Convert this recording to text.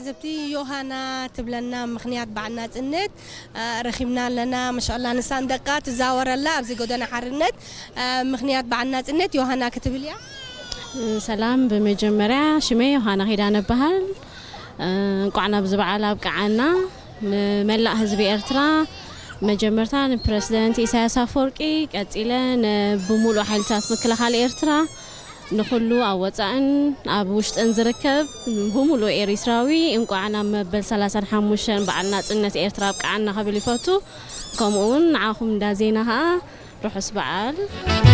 ዘብቲ ዮሃና ትብለና ምኽንያት በዓል ናጽነት ረኺብና ኣለና። መሻላ ንሳን ደቃ ትዛወረላ ኣብዚ ጎደና ሓርነት ምኽንያት በዓል ናጽነት ዮሃና ክትብል እያ። ሰላም፣ ብመጀመርያ ሽመይ ዮሃና ኪዳነ እበሃል። እንቋዕ ናብዚ በዓል ኣብቅዓና። ንመላእ ህዝቢ ኤርትራ መጀመርታ ንፕረዚደንት ኢሳያስ ኣፈወርቂ፣ ቀጺለ ብሙሉእ ሓይልታት ምክልኻል ኤርትራ፣ ንኹሉ ኣብ ወጻእን ኣብ ውሽጥን ዝርከብ ብሙሉእ ኤሪትራዊ እንቋዕ ናብ መበል ሰላሳን ሓሙሽተን በዓል ናጽነት ኤርትራ ኣብቅዓና ክብል ይፈቱ። ከምኡ እውን ንዓኹም እንዳ ዜና ኸኣ ርሑስ በዓል።